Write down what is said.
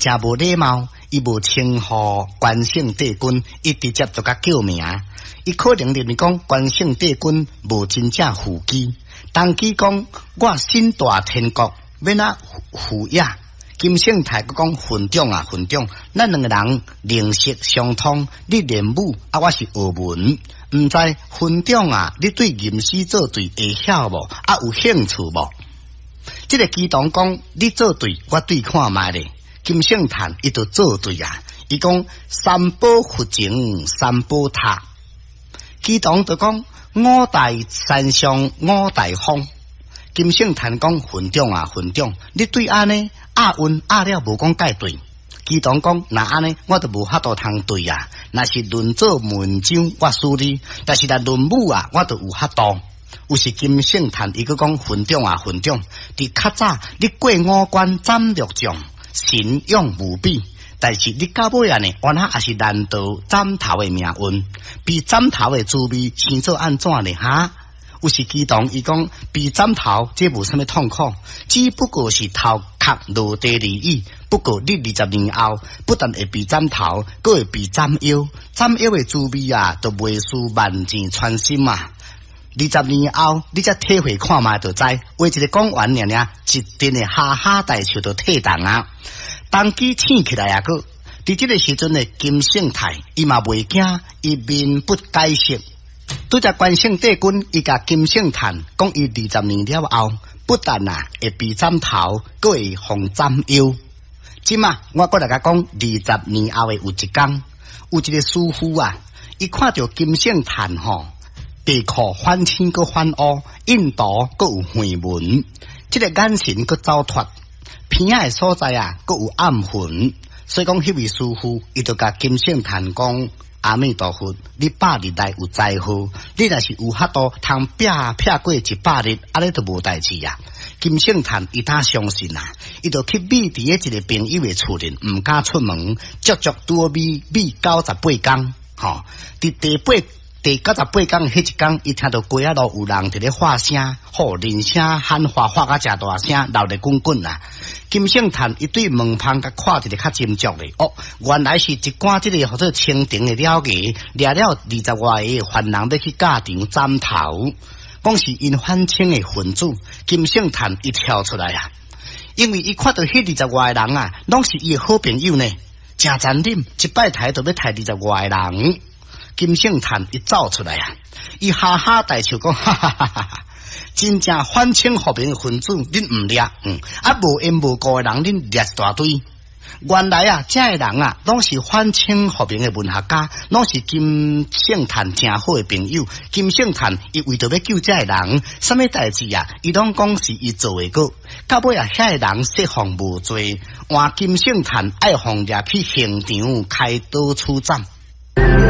誠無禮貌，伊無稱呼關聖帝君，伊直接就共叫名。伊可能認為講關聖帝君無真正附乩。童乩講我身大天國，欲按怎附也？金聖泰閣講雲長啊，雲長，咱兩個人靈識相通，你練武啊，我是學文，毋知雲長啊，你對吟詩作對會曉無？啊，有興趣無？這個乩童講，你作對，我對看覓咧。金聖嘆伊就作對啊，伊講三寶佛前三寶塔，乩童就講五台山上五台峰。金聖嘆講雲長啊，雲長，你對按呢押韻押了無講蓋對。乩童講若按呢，我就無法度通對啊。若是論做文章，我輸你；但是若論武啊，我就有法度。有時金聖嘆伊閣講雲長啊，雲長，佇較早你過五關斬六將，神勇無比。但是你到尾啊呢，原來也是難逃斬頭的命運。被斬頭的滋味，生做按怎呢？哈？有時乩童伊講被斬頭，這無啥物痛苦，只不過是頭殼落地而已。不過你20年後，不但會被斬頭，閣會被斬腰，斬腰的滋味啊，就袂輸萬箭穿心啊！二十年後，你才體會看覓就知，話一个講完爾爾，一陣的哈哈大笑就退動啊！童乩醒起來啊，閣佇這个時陣的金聖泰，伊嘛袂驚，伊面不改色。拄才關聖帝君，伊共金聖嘆講，伊二十年了後，不但啊會被斬頭，閣會予斬腰。這馬我閣來共講，二十年後的有一工，有一个師傅啊，伊看著金聖嘆吼，白褲反青閣反烏，印度閣有橫紋，這个眼神閣走脫，鼻仔的所在啊，閣有暗痕，所以講，彼位師傅伊就共金聖嘆講。阿彌陀佛，你百日內有災禍，你若是有法度通拚拚過100日，按呢就無代誌啊。金聖嘆伊當相信啊，伊就去覕佇咧一个朋友的厝裡，毋敢出門，足足拄好覕覕98工。吼，佇第八、第九十八工彼一工，伊聽著街仔路有人佇咧發聲，吼，人聲喊話發甲誠大聲，鬧熱滾滾啊！金聖嘆伊對門縫共看一个較斟酌咧，哦，原來是一寡這个號做清廷的鳥牙，掠了二十外个犯人欲去教場斬頭，講是𪜶反清的分子。金聖嘆伊跳出來啊，因為伊看著彼二十外个人啊，攏是伊的好朋友呢，誠殘忍，一擺刣就欲刣二十外个人。金聖嘆伊走出來啊，伊哈哈大笑講，哈哈哈哈！真正反清復明分子，恁毋掠，啊無緣無故的人，恁掠一大堆。原來啊，這个人啊，攏是反清復明的文學家，攏是金聖嘆誠好的朋友。金聖嘆伊為著欲救這个人，啥物代誌啊？伊攏講是伊做的過。到尾啊，遐个人釋放無罪，換金聖嘆愛予掠去刑場開刀處斬。